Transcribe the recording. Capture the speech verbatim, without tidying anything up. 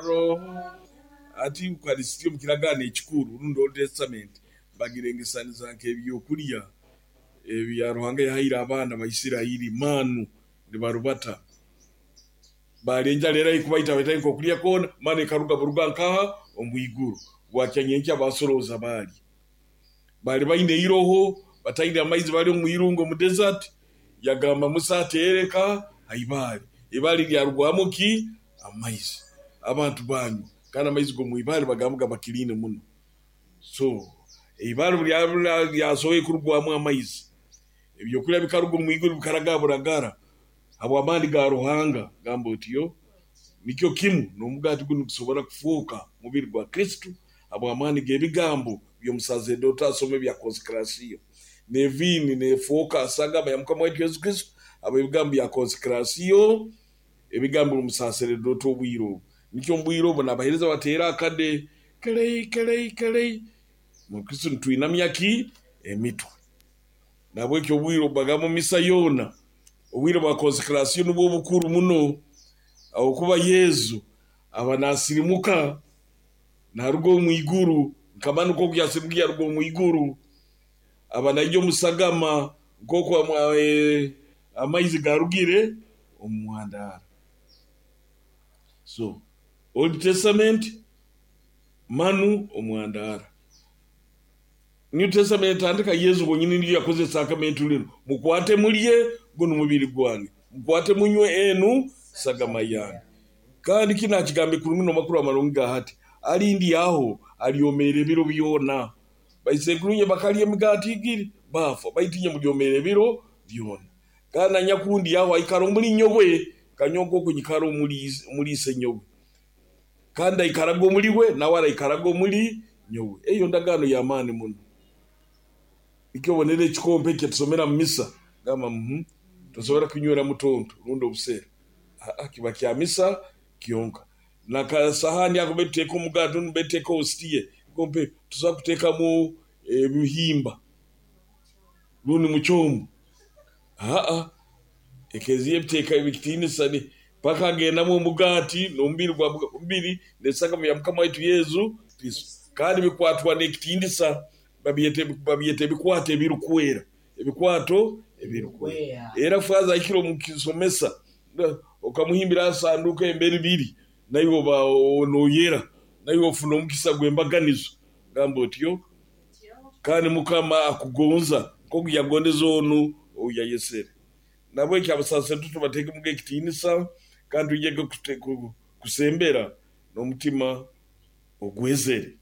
Roho. Ati Ukaristia omu kiragaano ekikuru rundi Old Testament bagirengesaniza nk'ebyokulya ebya Ruhanga yahaire abaana ba Isirairi, maanu nibarubata. Baali enjara eri kubaita, bataine kokulya koona, maanu ekaruga buruga nkaha? Omwiguru. Bwakya nyenkya basorooza baalya. Baali baine iroho, bataine amaizi, bali omu irungu omu desert, yagamba Musa ateere nkaha? Ha ibaale. Ibaale lyarugwamu ki? Amaizi. Abantu baanywa. Kandi amaizi g'omu ibaale bagamba gaba clean muno. So ibaale obu lyasoboire kurugwamu amaizi, ebyokulya bikaruga omu iguru bikaraga buragara habw'amaani ga Ruhanga, gamba otyo, nikyo kimu n'omugaati gunu nigusobora kufooka mubiri gwa Kristo habw'amaani g'ebigambo by'omusaseredooti asoma ebya konsekrasiyo. N'eviini neefooka sagama ya Mukama waitu Yesu Kristo habw'ebigambo bya konsekrasiyo, ebigambo by'omusaseredooti obwire obu. Nikyo omu bwire obu n'abaheereza bateera akade kelei kelei kelei, Mukristo nitwinamya ki? Emitwe. Nahabweki obwire obu bagamba omu misa yoona, obwire bwa konsekrasiyo nubwo bukuru muno, habwokuba Yesu aba naasirimuka naaruga omu iguru, nka manu nkooku yasirimukire yaruga omu iguru, aba naija omu sagama nkooku amaizi gaarugire omu mwandara. So Old Testament, manu omwandara. New Testament etandika Yesu bwonyini niyo yakoze sakramentu linu. Mukwate mulye, gunu mubiri gwange. Mukwate munywe, enu sagama yange. Kandi kinu akigambe kurungi n'amakuru amarungi ga hati. Alindyaho alyomeera ebiro byona. Baisenkuru inywe bakalya emigaati igiri baafa, baitu inywe mulyomeera ebiro byona. Kandi anyakundyaho aikara omuli nyowe, nka nyowe nkooku nyikara omuli Isenyowe. Kandi ndaikaraga omuli we, nawe araikaraga omuli nyowe. Eyo ndagaano y'amaani muno. Nikyo obonera ekikompe eki tusomera mu misa, gamba tosobora kunyweramu tonto rundi obusera. Aa kiba kya misa kyonka. N'akasahaani ako mbere tuteeka omugaati rundi mbere tuteeka hostia, ekikompe tosobora kuteekamu ebihimba rundi muchombo. Aa Ekereziya ebiteeka ekitiinisa paka hagendamu omugaati n'omubiri gwa omubiri n'esagama ya Mukama waitu Yesu Kristo. Kandi bikwatwa n'ekitiinisa, babyeta babyeta ebikwato ebirukwera. Ebikwato ebirukwera. Era faaza ahikire omu kisomesa, okamuhimbira ha sanduuko emberi biri, naiwe oba nooyera, naiwe ofuna omukisa gw'embaganizo. Gamba otyo. Kandi Mukama akugonza nkooku yagondeze onu ou yayesere. Nahabweki abasaseredooti tubateekemuga ekitiinisa kandi twije kusembera n'omutima ogwezere.